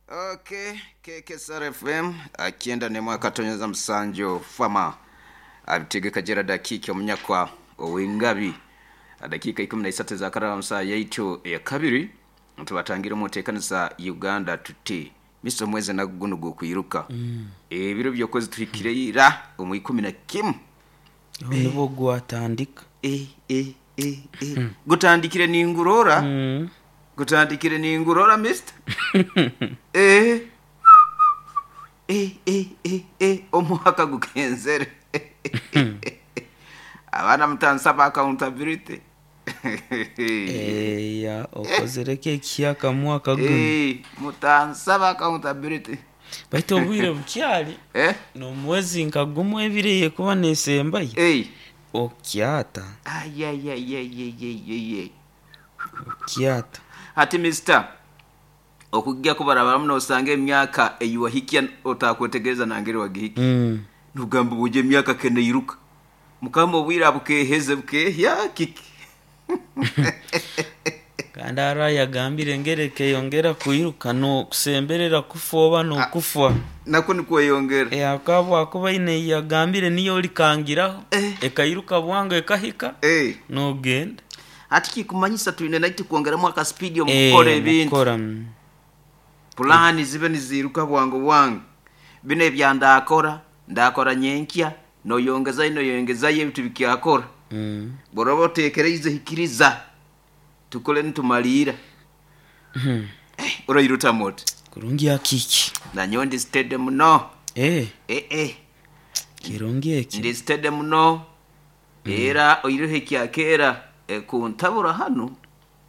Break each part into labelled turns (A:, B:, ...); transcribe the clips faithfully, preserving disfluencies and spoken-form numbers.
A: Okay, K K S R F M akienda ne mwaka tonyeza musanjo fama abitegeka Gerard Akiki omunyakwa ow'engabi. Dakika ikumi na isatu za karara musa yaitu ya kabiri tubatangira omuteekanisa Uganda tuti misa omwezi naguno gwokwiruka mm. Ebiro byokwezi tuhikire ira omu ikumi na kimu.
B: Nibwo gwatandika.
A: e, e, e, e. Gutandikire ningurora
B: Mm.
A: Gutandikire ningurora mister eh eh eh eh eh omwaka gukenzere abaana mutansaba accountability.
B: Eya, okozereko ekihaka mwaka guno.
A: Eh, mutansaba accountability.
B: Baitu obwire bukyali
A: eh
B: nomwezi nka gumu ebiri yekuba nesembayo
A: eh
B: okyata.
A: Ayayayayayayay.
B: Okyata.
A: Hati mister, okujja kubarabara muno osanga emyaka eyiwahikya otakwetegereza nangeri wagihikya.
B: Mm.
A: Nugamba buje emyaka keneiruka mukama obwire abukeheze bukehya kiki.
B: Kandi ara yagambire ngereke yongera kwiruka nokusemberera kufa oba nokufa.
A: Nako nikweyongera.
B: Akaba akuba ine yagambire niyo olikangiraho
A: Eh.
B: ekairuka bwangu ekahika
A: Eh.
B: nogenda.
A: Hati kikumanyisa twine naiti kwongeramu akasipidi
B: Eh,
A: omukukora ebintu.
B: mukukora, mm.
A: Pulani zibe niziruka bwangu bwangu, bino ebya ndakora ndakora nyenkya noyongezayo noyongezayo ebintu bikyakora.
B: Mm.
A: Boroba otekereize hikiriza tukole nitumaliira.
B: Mhm.
A: Eh, orairuta moto.
B: Kurungi akiki.
A: Nanyowe ndi steady muno.
B: Eh,
A: eh, eh.
B: kirungi eki.
A: Ndi steady muno era oireho ekyakera eh, kuntabura hano.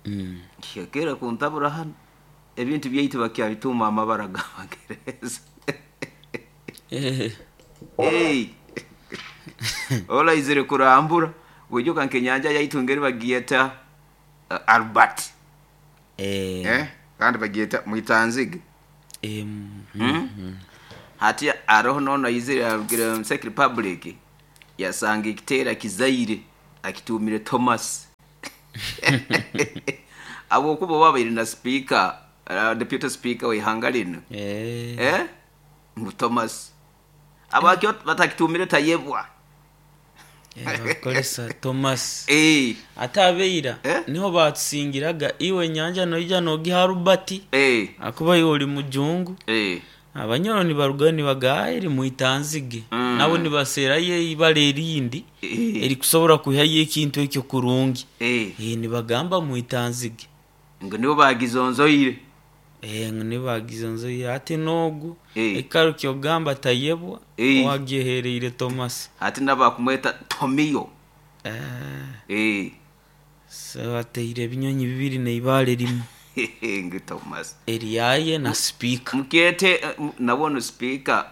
B: Mm.
A: Kyakera kuntabura hano ebintu byaitu bakyabituma amabara g'abagereza.
B: Eh.
A: Hey. Olaizire kurambura wijuka nkenyanja yaitu ngeri bagieta uh, Albert.
B: Eh.
A: Eh? Kandi bagieta mwitanzige.
B: Eh, mm.
A: Mm? Hati aroho nono aizire arugire mu Czech Republic yasanga ekitera kizaire akitumire Thomas abo kuba babaire na speaker, uh, deputy speaker w'ihanga lino.
B: Eh.
A: Eh? Ngu Thomas abakyo batakitumire tayebwa.
B: Eh, bakoresa Thomas.
A: Eh.
B: Ate abeira
A: Eh?
B: niho batusingiraga iwe nyanja noija nogiha Rubati
A: Eh.
B: akuba iwe oli mujungu.
A: Eh.
B: Abanyoro nibarugayo nibagaa eri mwitanzige.
A: Mm.
B: Nabo nibaseerayo ibara erindi
A: Eh.
B: erikusobora kwihayo ekintu ekyo kurungi.
A: Eh.
B: Eh, nibagamba mwitanzige.
A: Ngo nibo bagizonzoire.
B: Eh, ngo nibagizonzoire ate nogu
A: Eh.
B: ekaro kyogamba tayebwa
A: Eh.
B: owagyehereire Thomas.
A: Ati nabakumweta Tomiyo.
B: Eh,
A: Eh.
B: so ateire ebinyonyi bibiri neibale rimu.
A: Ngu Thomas.
B: Eryaye na speaker.
A: Mukete eh, m- nabona speaker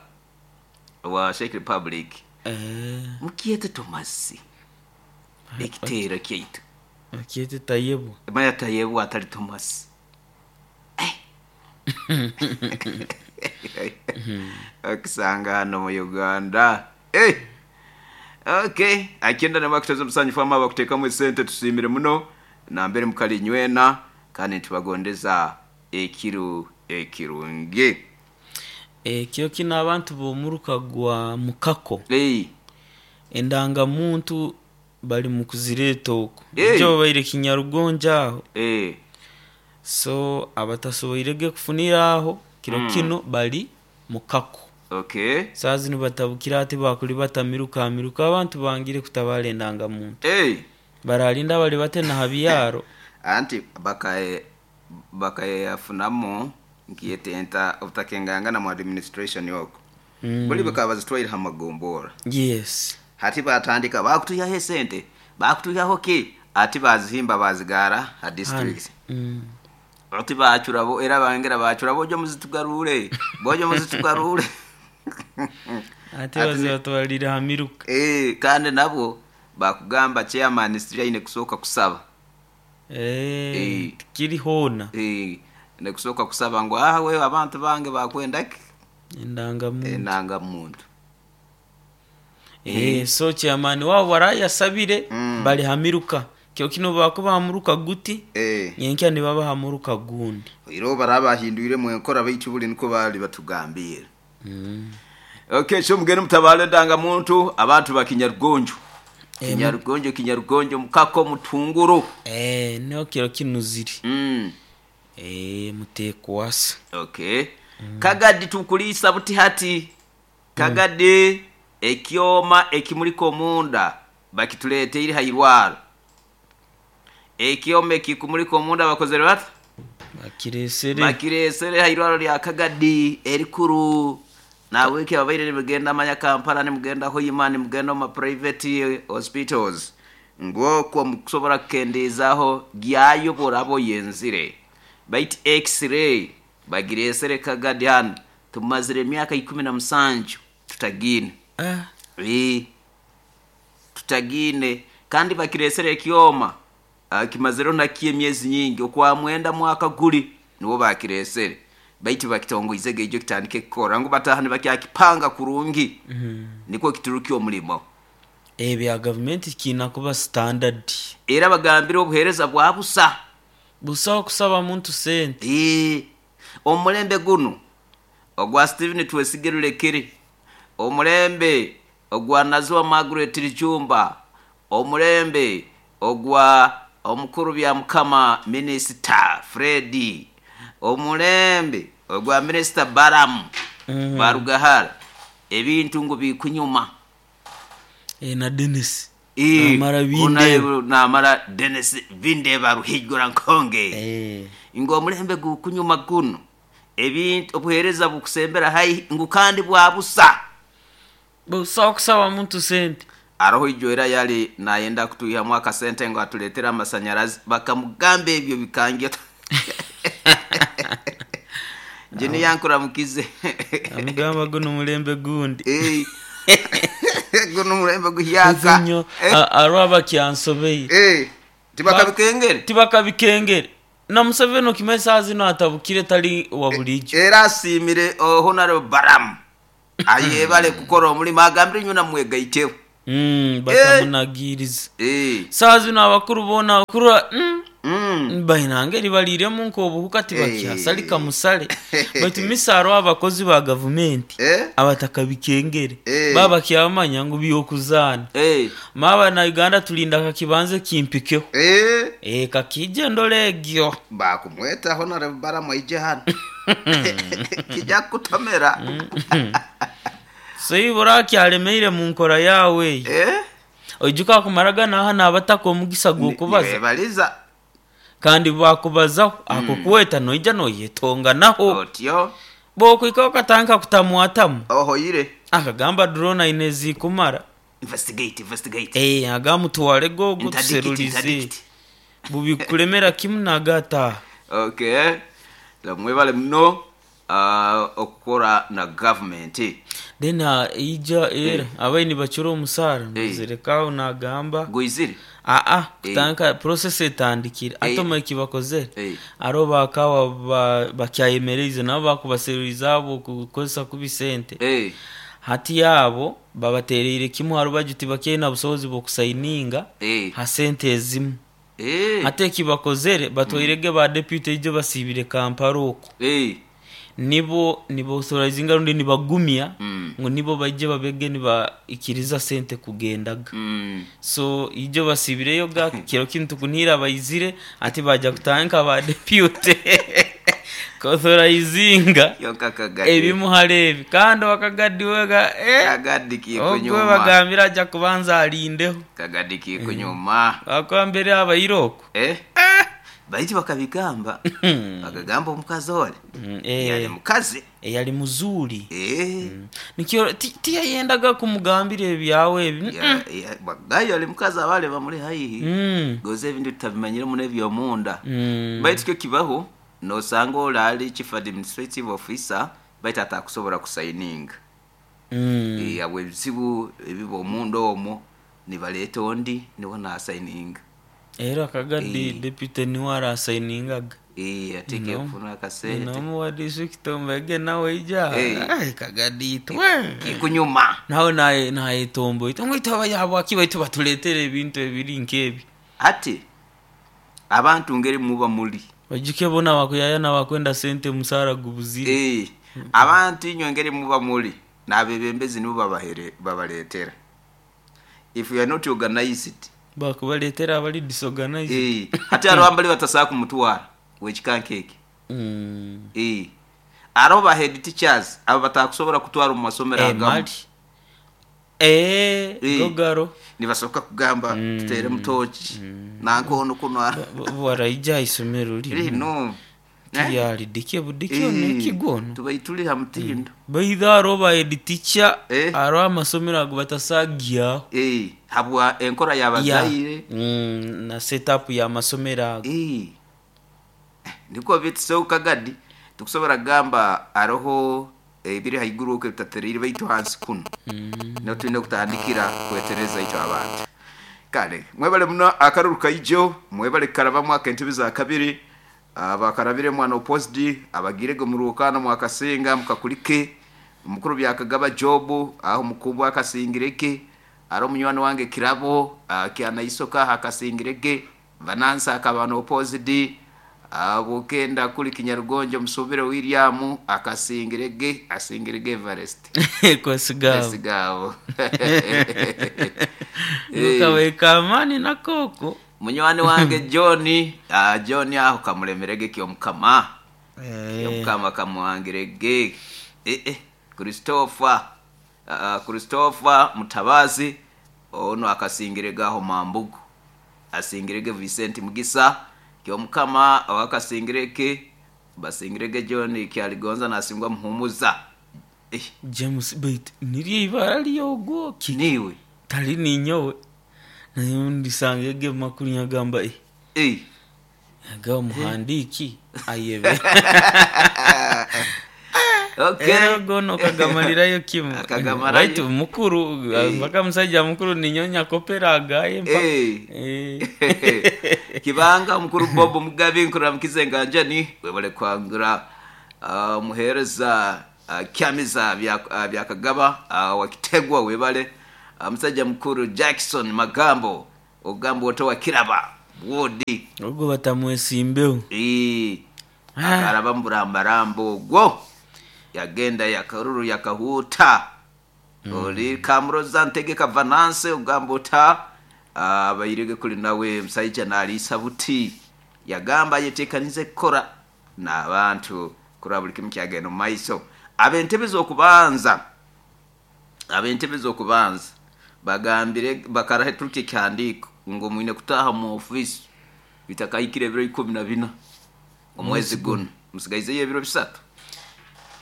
A: wa Czech Republic.
B: Eh,
A: Mukete Thomas ekitera kyaitu.
B: Akyete tayebwa.
A: Maya tayebwa atali Thomas. Akisanga hano mu Uganda. Eh. Okay, akenda namakuteza omusanyu fama bakuteekamu esente tusiimire muno nambere mukali nywena kandi ntibagondeza ekiru ekirungi.
B: Ekyo kino abantu b'omuruka gwa mukako
A: Hey.
B: endangamuntu bali mu kuzireeta okwo
A: Eh.
B: ekyo babaire kinyarugonja aho.
A: Eh.
B: So abatasoboirege kufunira aho kiro
A: Mm.
B: kino bali mukako.
A: Okay.
B: Saa zino batabukira ati bakuli batamiruka amiruka abantu bangire kutabala endangamuntu.
A: Hey.
B: Baralinda bali bate na habyaro.
A: Anti bakae bakayafunamu nkiyetenta obutakengangana mu administration yoko.
B: Mm.
A: Buli bakaba bazitwaire ha magombora.
B: Yes.
A: Hati batandika bakutuyaho esente bakutuyaho ki ati bazihimba bazigara ha district.
B: Mm.
A: Ati bacurabo era bangera bacura bojo muzitugarure bojo muzitugarure.
B: Ate bazibatwalire hamiruka.
A: Eh, kandi nabo bakugamba chairman siraine kusooka kusaba.
B: Eh,
A: Eh.
B: kiri hoona.
A: Eh, nekusooka kusaba ngu ah we abantu bange bakwenda ki
B: Endangamuntu.
A: Endangamuntu.
B: Eh, so chairman wabo warayasabire
A: Mm.
B: bali hamiruka Kyo kino bakuba hamuruka guti
A: eh
B: nyenkya nibaba hamuruka gundi.
A: Iro barabahindwire mu enkora baitu buli niko bali batugambira.
B: Mm.
A: Okay, so mugende mutabale ndanga muntu abantu bakinyarugonjo.
B: Eh,
A: Kinyarugonjo kinyarugonjo mukako mutunguru.
B: Eh, niho kiro kino ziri.
A: Mm.
B: Eh, mutekwasa.
A: Okay. Mm. Kagadi tukulisa buti hati. Kagadi mm. Ekyoma ekimuliko munda bakitulete iri hairwaro. Ekyoma ekikumuliko munda bakozere bati?
B: Bakiresere.
A: Bakiresere hairwaro lya Kagadi erikuru. Na wiki abaire nimugenda manya Kampala nimugenda Hoima nimugenda mu private hospitals. Ngoko mukusobora kukendezaho gyayobora abo yenzire. Bait x-ray bagiresere Kagadi hano tumazire emyaka ikumi na musanju tutagine.
B: Ah.
A: Eh. Tutagine kandi bakiresere ekyoma kimazero nakiye myezi nyingi okwa mwenda mwaka guli niwo bakiresere. Baiti bakitongoize gejo kitandike kukora ngo batahane bakyakipanga kurungi.
B: Mm -hmm.
A: Niko kituruki omulimo.
B: Eh bya government kina kuba standard.
A: Era bagambira obuhereza bwa busa.
B: Busa okusaba muntu sente.
A: Eh omulembe guno ogwa Steven Twesigerulekere, omulembe ogwa Nazwa Margaret Lijumba, omulembe ogwa omukuru bya mukama Minister Freddy, omulembe ogwa Minister Baram
B: mm -hmm.
A: Barugahara, ebintu ngo bikunyuma.
B: E na Dennis
A: e,
B: namara binde
A: namara Dennis binde baruhigura nkonge
B: eh
A: ngo omulembe gukunyuma guno ebintu obuhereza bukusembera hai ngu kandi bwa busa
B: busa okusaba muntu sente.
A: Aroho ijoera yali nayenda kutuiha mwaka sente ngo atuletera amasanyarazi bakamugamba ebyo bikange. Njini yankura mukize.
B: Amugamba guno mulembe gundi.
A: Eh. Guno mulembe guhyaka.
B: Eh. Arwa kyansobeye.
A: Eh. Tibakabikengere.
B: Tibakabikengere. Na Museveni okimesa zino atabukire tali wa bulijo.
A: Era asimire Honorable Baram. Ayebale kukora omulimo agambire nyuna mwegaiteho.
B: Mm, batamunagiriza.
A: Eh.
B: Saa zino abakuru bona abakuru mm.
A: Mm.
B: Bainange libaliremu nkobuhuka tibakyasalika musale. Baitu misaro abakozi ba government
A: eh?
B: abatakabikengere
A: eh.
B: baba kyamanya ngu byokuzana.
A: Eh.
B: Maba na Uganda tulinda kakibanze kimpikeho.
A: Eh.
B: Eh kakije ndolegyo.
A: Bakumweta Honorable Baram aije hano. Kijja kutomera.
B: So iburaki alemeire mu nkora yawe.
A: Eh?
B: Ojuka kumaraga naha nabataka omugisa gwokubaza.
A: Nibaliza.
B: Kandi bakubazaho mm. Akukweta noija noyetonga naho.
A: Otyo.
B: Bokwika okatanka kutamwatamu.
A: Oho yire.
B: Akagamba drone inezi kumara.
A: Investigate, investigate.
B: Eh agamutwale gogo tuserulize. Bubikulemera kimu nagata.
A: Okay. Lamwebale muno uh, okukora na government.
B: Then uh, ija era
A: eh.
B: abaini bachura omusara
A: Eh.
B: nzirekaho nagamba
A: Goizire.
B: Ah ah kutanka process etandikira
A: Eh.
B: atoma ekibakozere
A: Eh.
B: aro bakawa ba, bakyayemereze nabo bakubaseruriza abo kukozesa kubisente
A: Eh.
B: hati yabo babatereire kimu haro bajuti bakena busobozi bwokusayininga
A: Eh.
B: ha sente ezimu
A: Eh.
B: ate ekibakozere batwairege ba deputy ijo basibire Kampala oko
A: Eh.
B: nibo nibo authorizinga rundi nibagumya
A: Mm.
B: ngo nibo bajye babege nibaikiriza sente kugendaga
A: Mm.
B: so ijo basibireyo ga kiro kintu kunira bayizire ati bajya kutanka ba deputy authorizinga
A: Yonka Kagadi.
B: ebimuharebi kandi wakagadi wega eh
A: Kagadi
B: ogwe
A: kikunyuma.
B: bagambira ajya kubanza alindeho
A: Kagadi kikunyuma.
B: bakwa mbere abayiroko
A: Eh? Baiti bakabigamba. Bakagamba omukazi ole.
B: Mm,
A: Yali
B: eh
A: mukazi.
B: yali muzuri
A: Eh.
B: nikyo ti- tiyayendaga kumugambira ebyawe ebi
A: Ya ya bagayo ali mukazi abale bamuli haihi.
B: Mm.
A: Goze ebintu tutabimanyire muno ebyomunda.
B: Mm.
A: Baitu kyo kibaho nosanga olali chief administrative officer baitu atakusobola kusayininga.
B: Mm.
A: Eh abo ebizibu ebiba omunda omwo nibaleeta ondi niwo nasayininga.
B: Era Kagadi
A: Eh.
B: deputy niwe arasayiningaga
A: Eh ateke
B: No.
A: kufuna akasente.
B: nomu wa district ombege nawe ija
A: Eh.
B: Ai, Kagadi itwe
A: Kikunyuma.
B: nawe naye nayetombo ito ngo itaba yabo akiba itu batuletere ebintu ebiri nkebi
A: Hati abantu ngeri muba muli
B: Bajuke bona bakuyaya nabakwenda sente musara gubuzire.
A: Eh, abantu inywe ngeri muba muli n'abebembezi nibo babahere babaletera. If you are not organized,
B: Bakubaletera abali disorganized.
A: eh, hati hariho abali batasobola kumutwara wekikankeke.
B: Mm.
A: Eh, hariho ba head teachers abo batakusobola kutwara omu masomero
B: Eh,
A: agamu.
B: mali. Eh,
A: Eh.
B: gogaro.
A: Nibasoboka kugamba tutere mutoki nankono kuno
B: Baraija isomero lino.
A: lino. Eh?
B: Tiyali dike budike
A: Eh,
B: nekigwono.
A: tubaituli ha mutindo.
B: Baitha aro ba head teacher
A: Eh.
B: aro amasomero ago batasagiaho.
A: Eh, habwa enkora y'abazaire.
B: Mm, na setup ya masomero ago.
A: Eh. Niko bitiso kagadi tukusobora gamba aroho ebiri haiguru okwe bitaterire baitu hansi kuno. No tulina kutandikira kwetereza ito abantu. Kale mwebale muno akaruru kaijo, mwebale karabamu akentebe za kabiri, abakarabire mwana opposed, abagirege murukana mwakasinga mukakulike, omukuru byakagaba jobu aho mukubu akasingireke, aro munywani wange kirabo kyanaisoka akasingireke, vanansa akabana opposed, abukenda kuli Kinyarugonjo musubire William akasingirege, asingirege Everest.
B: Kwesigabo.
A: Esigabo.
B: Nukaweka amani na koko.
A: Munywani wange John, ah, John aho kamulemerege kyomukama.
B: Eh.
A: Kyomukama kamuhangirege. Eh eh Christopher, ah, Christopher Mutabazi ono akasingirege aho Mambugu. Asingirege Vincent Mugisa kyomukama awakasingireke basingirege John kyaligonza nasingwa muhumuza. Eh,
B: James bait niryo ibara lyogwo ki
A: niwe.
B: tali ninyowe naye ndisangege makuru nyagamba eh
A: Eh.
B: aga omuhandiki ayebe.
A: Okay.
B: Era gono kagamalirayo kimu.
A: Akagamarayo.
B: Right mukuru mpaka musajja mukuru ninyonya kopera agaye mpa.
A: Eh.
B: Eh.
A: Kibanga mukuru Bob Mugabe nkuramukize nganjani webale kwangura uh, muhereza uh, kyamiza bya uh, byakagaba uh, wakitegwa webale uh, musajja mukuru Jackson Magambo ogambo oto wakiraba wodi
B: Ogwo batamwesimbeho.
A: eh akaraba mburambarambo ogwo yagenda yakaruru yakahuta oli kamuroza ntegeka vananse ogamba ota abayirege kuli nawe musaija naliisa buti yagamba yetekanize kukora n'abantu kuraba buli kimu kyagenda omu maiso. Ab'entebe z'okubanza, ab'entebe z'okubanza bagambire bakaraheturuka ekihandiiko ngu mwine kutaaha mu ofiisi bitakahikire ebiro ikumi na bina omwezi guno musigaizeyo ebiro bisatu.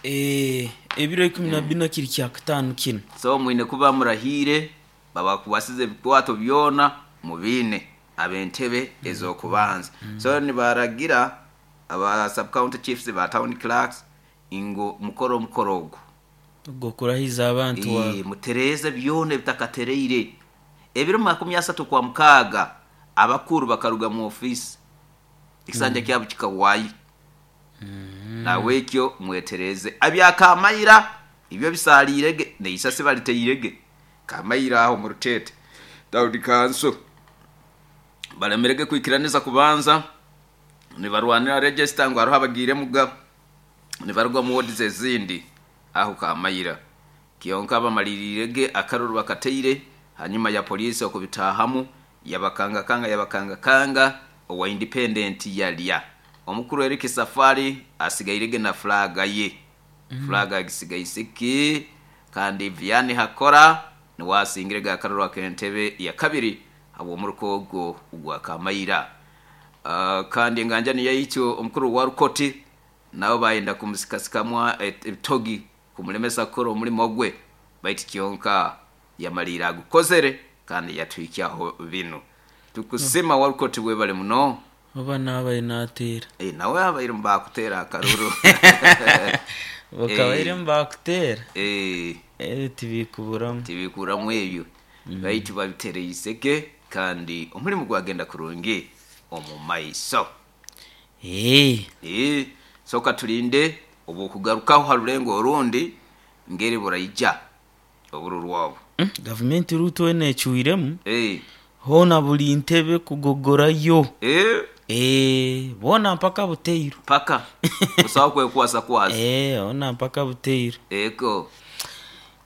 B: Eh, ebiro ikumi na bina kiri kya kataano kino.
A: So mwine kuba murahire babakuwasize ebikwato byona mubiine ab'entebe ez'okubanza. So nibaragira aba sub county chiefs ba town clerks ngo mukoro omukoro ogwo.
B: Ogwo kurahiza abantu wa.
A: Eh, mutereze byona ebitakatereire. Ebiro makumi asatu kwa mukaaga abakuru bakaruga mu office ekisanja kyabo kikawayo. Nawe ekyo mwetereze abyakamayira ibyo bisalirege neisase baliteirege kamayira aho mu rutete Daudi Kanso balemerege kwikiraniza kubanza nibarwanira register ngo hariho abagire muga nibarwa mu ward zezindi aho kamayira kiyonka bamalirirege akaruru bakateire hanyuma ya polisi okubitahamu yabakanga kanga yabakanga kanga owa independent yalya omukuru Eric Safari asigairege na flaga ye mm. Flaga agisigaisiki kandi Vianney Hakora niwasingirege akaruru akentebe ya kabiri abo muruko ogwo gwa Kamayira. Uh, kandi enganja niyo yityo omukuru wa Rukoti nabo bayenda kumusikasikamwa ebitogi kumulemesa kukora omulimo gwe baitu kyonka yamalira agukozere kandi yatwikyaho bino tukusima mm. Wa Rukoti webale muno
B: oba nabaye natera
A: eh nawe abaire mbakutera akaruru
B: bakabaire mbakutera
A: eh
B: eh tibikuburamu
A: tibikuramu ebyo mm. Baitu babitereye iseke kandi omulimu gwagenda kurungi omu maiso.
B: Eh
A: eh soka tulinde obukugarukaho harulengo orundi ngeri buraija obururwabo
B: mm, government ruto enechuiremu
A: eh
B: Hona buli ntebe kugogorayo.
A: Eh,
B: Eh, bona mpaka buteiru.
A: Paka usawa kwekwasa kwasa.
B: Eh, ona mpaka buteiru.
A: Eko.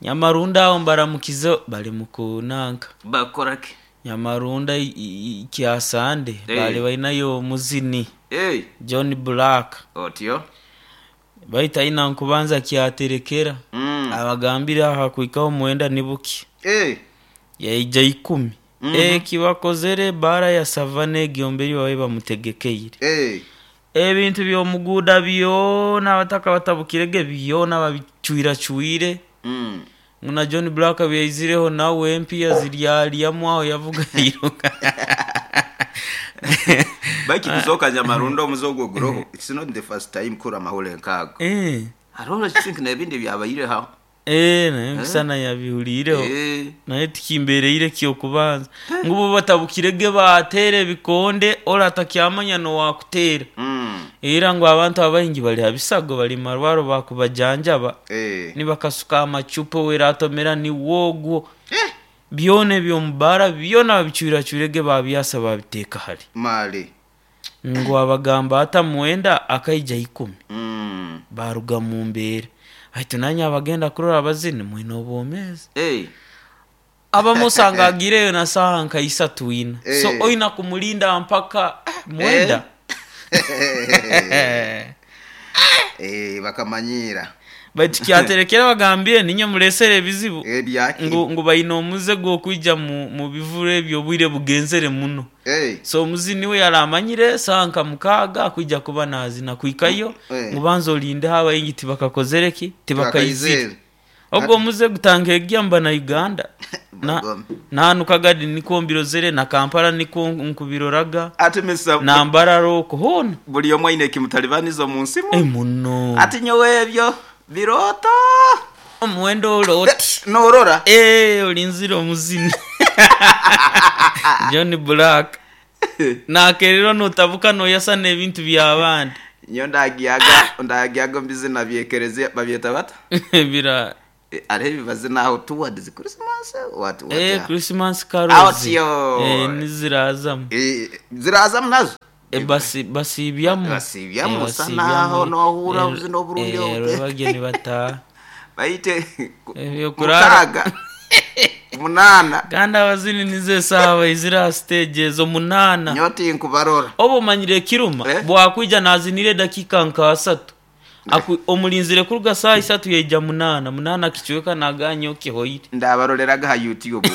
B: Nyamarunda aho mbaramukize bali mukunanka.
A: Bakorake.
B: Nyamarunda i- i- kyasande
A: Eh.
B: bali bainayo muzini
A: Eh,
B: John Black.
A: Otyo.
B: Baita ina nkubanza kyaterekera.
A: Mm.
B: Abagambira aha kuikaho mwenda nibuki.
A: Eh,
B: Yaija ikumi.
A: Mhm.
B: Eh, kibakozere bara ya savane egyomberi babe bamutegekeire.
A: Eh.
B: Ebintu by'omuguuda byona abataka batabukirege byona babicwiracwire.
A: Mm.
B: Muna John Black byaizireho nawe empiya ziryalyamu aho yavuga yiruka.
A: Baiki kusoka Nyamarundo omuzogo guroho. It's not the first time kura mahule nkago.
B: Eh.
A: Arora think nebindi byabayire ha.
B: Eh, naye nkusana yabihulireho.
A: Eh.
B: Naye tikimbereire kyokubanza. Ngubu batabukirege batere bikonde ora atakyamanya no wakutera.
A: Mm.
B: Era ngo abantu abaingi bali habisago bali marwaro bakubajanjaba.
A: Eh.
B: Nibakasuka amacupa weratomera ni wogwo.
A: Eh.
B: Byone byomubara byona babicwiracwirege babyasa babiteeka hali.
A: Mali.
B: Ngo abagamba ata mwenda akaija ikumi.
A: Mm.
B: Baruga mu mbeera. Haitu nanye abagenda kurora abazini mwine obwomezi.
A: Eh.
B: Abamusanga agireyo na saha nka isatu ina.
A: Eh.
B: So oina kumulinda mpaka mwenda.
A: Eh. Eh, bakamanyira.
B: Baitu kyaterekera bagambire ninye mulesere ebizibu.
A: Eh, byaki.
B: Ngu, ngu bayina omuze gw'okwija mu, mu bivule ebyo obwire bugenzere muno.
A: Eh.
B: So omuzini we yaramanyire saha nka mukaaga akwija kuba nazina kwikayo.
A: Eh.
B: Ngu banza olinde abayingi tibakakozere ki? Tibakaizire.
A: Tibakaizire.
B: Ogwo omuze gutanga egyamba na Uganda. Na
A: Bagome.
B: nanuka gadi niko mbirozere na Kampala niko nkubiroraga.
A: Ati misa
B: Na Mbarara oko hona.
A: Buli omwe aine ekimutalibanizo mu nsimu.
B: Eh, muno.
A: Ati nyowe ebyo birota.
B: Omuwendo oloti.
A: Norora.
B: Eh, olinzira omuzini. John Black. Nakerero notabuka noyasa n'ebintu by'abandi.
A: Nyo ndagiyaga, ndagiyaga mbizina byekereze babyeta bata.
B: Bira.
A: Eh, Are bibazina aho towards Christmas what what.
B: Eh,
A: yeah.
B: Christmas carols.
A: Out yo.
B: Eh, nizirazamu.
A: Eh, zirazamu nazo.
B: Eh, basi basibyamu.
A: Basibyamu,
B: Eh,
A: usa naho nohura ubuzina oburungi
B: Eh,
A: obu.
B: bageni bata.
A: Bayite
B: Ebyo kurara.
A: mukaga. Munana.
B: Kandi abazini nize sawa izira stage ezo munana.
A: Nyoti nkubarora.
B: Obo manyire kiruma
A: Eh?
B: bwakwija nazinire dakika nka asatu. Aku omulinzire kuruga saa isatu yeija munana, munana kichweka naganyo kihoire.
A: Ndabaroreraga ha YouTube.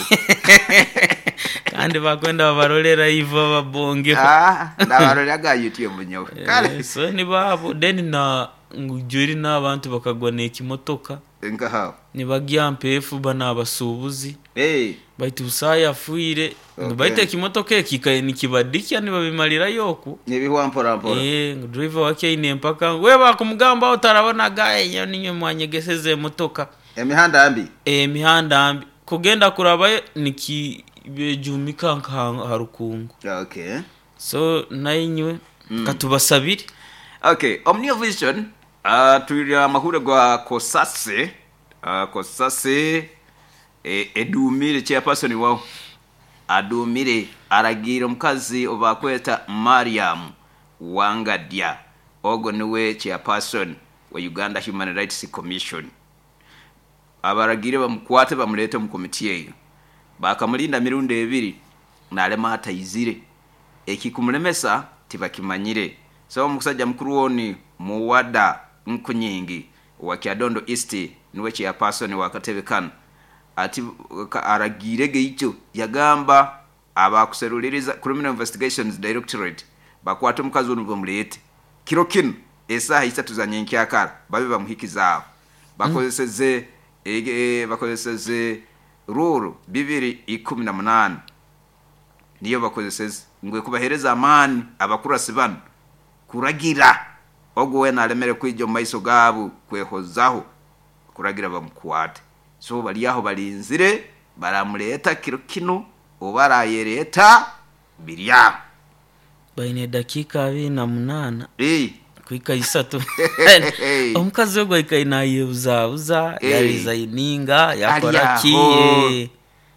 B: Kandi bakwenda babarorera ivo babonge.
A: Ah, ndabaroreraga ha YouTube nyowe. Kale
B: Eh, so ni babo then na ngujuri n'abantu bakagwa n'ekimotoka
A: nkaha.
B: nibagya mpefu bana abasuubuzi.
A: Eh,
B: Baitu usaya afuire.
A: Okay.
B: Baitu ekimotoka ekikaye nikibadikya nibabimalirayo oku.
A: Nibihwa mpora mpora.
B: Eh, ngu driver wake aine mpaka we bakumugamba otarabonaga enyo ninyo mwanyegeseze emotoka.
A: Emihanda mbi.
B: Emihanda mbi kugenda kurabayo nikibejumika nka harukungu.
A: Okay.
B: So nainywe mm. katubasabire.
A: Okay, Omnia Vision uh, twiri amahure gwa Kosase uh, Kosase e, edumire chairperson wao adumire aragira omukazi obakweta Mariam Wangadya ogo niwe chairperson wa Uganda Human Rights Commission. Abaragire bamukwate bamulete mu komiti eyo. Bakamulinda mirundi ebiri nalema ataizire. Ekikumulemesa tibakimanyire. So omusajja mukuru woni Muwada Nkunyingi wa Kyadondo East niwe chairperson wa katebe kano. Ati ka, aragirege icyo yagamba abakuseruliriza Criminal Investigations Directorate bakwate omukazi ono bamulete kiro kino esaha isatu za nyenkyakara babe bamuhikizaabo bakozeseze mm. e, bakozeseze ruru bibiri ikumi na munani niyo bakozeseze ngwe kubahereza amani abakurasi bano kuragira ogwo wena alemere kwija omu maiso gaabo kwehozaho kuragira bamukwate. So bali aho balinzire baramuleta kiro kino oba arayereta birya
B: Baine dakika abiri na munana
A: Eh.
B: kuika isatu. Omukazi ogwo aikaire nayebuzabuza,
A: Eh.
B: yaresigninga, yakora
A: Ari
B: ki,
A: aho.
B: eh.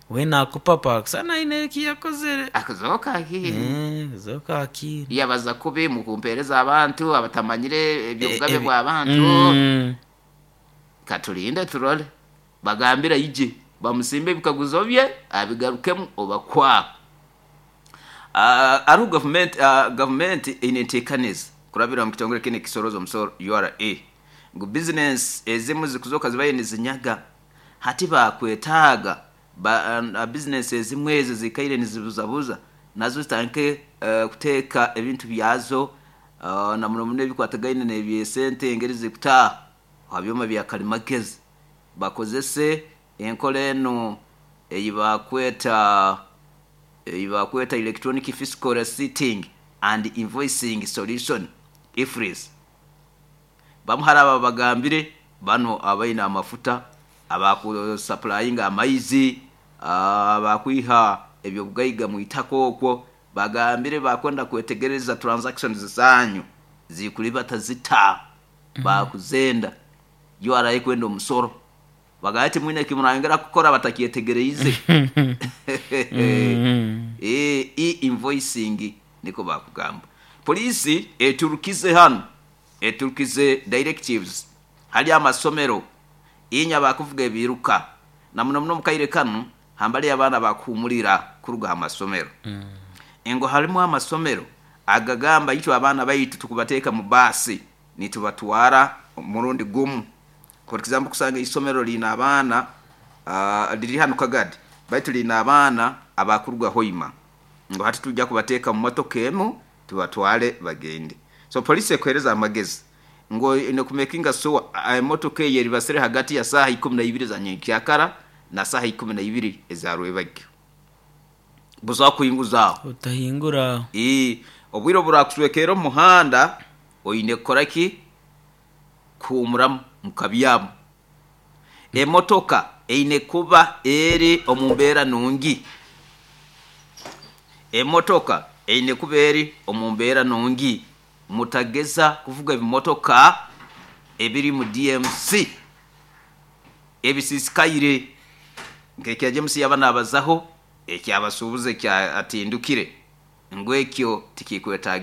B: We nakupapa kusana aine eki yakozere.
C: Akazoka akiri.
B: Eh, zoka akiri.
C: Yabaza kubi mu kumpereza abantu abatamanyire ebyobugabe
B: Eh, ebi-
C: bw'abantu.
B: Mm.
C: Katulinde turole, bagambira ije bamusimbe ebikaguzo bye abigarukemu obakwa.
A: Uh, ariho gavumenti uh, gavumenti eine enteekaniza kurabira mu kitongole kine ekisoroza omusoro U R A ngu bizinesi ezimu zikuzoka zibaye nizinyaga hati bakwetaaga ba, uh, bizinesi ezimu ezo zikaire nizibuzabuza nazo zitandike uh, kuteeka ebintu byazo uh, na muno muno ebikwatagaine n'ebyesente engeri zikutaaha aha byoma bya kalimagezi, bakozese enkola enu ei bakweta ei bakweta electronic fiscal receipting and invoicing solution, E F R I S. Bamu hari aba bagambire bano abaine amafuta, abakusupplyinga amaizi, abakwiha ebyobugaiga mu itaka okwo, bagambire bakwenda kwetegereza transactions zanyu zikulibata zita, bakuzenda U R A kwenda omusoro, bagamba ati mwine kimurangera kukora batakyetegereize. Eh, e-invoicing niko bakugamba. Polisi eturukize hano, eturukize directives hali amasomero inya bakuvuga ebiruka na muno muno mukaire kanu hambali abaana bakuhumulira kuruga ha masomero, engo halimu amasomero agagamba itwe abaana baitu tukubateeka mu baasi nitubatwara murundi gumu. For example, kusanga isomero lina abaana uh, liri hano Kagadi, baitu lina abaana abakuruga Hoima, ngo hati tujja kubateeka mu motoka emu tubatwale bagende. So polisi ekuhereza amagezi ngo ine kumakinga sure emotoka eyo eribasire hagati ya saaha ikumi na ibiri za nyenkyakara na saaha ikumi na ibiri eza rwebagyo, buza kuhinguzaho.
B: Utahingura.
A: Ii, obwire oburakuswekera omu muhanda oine kukora ki? Kuhumuramu mukabyamu. Emotoka eine kuba eri omu mbeera nungi, emotoka eine kuba eri omu mbeera nungi. Mutageza kuvuga ebimotoka ebiri mu D M C ebisisikaire nkekya James yaba nabazaho ekyabasuubuzi ekyatindukire ngu ekyo tikikwetagisa.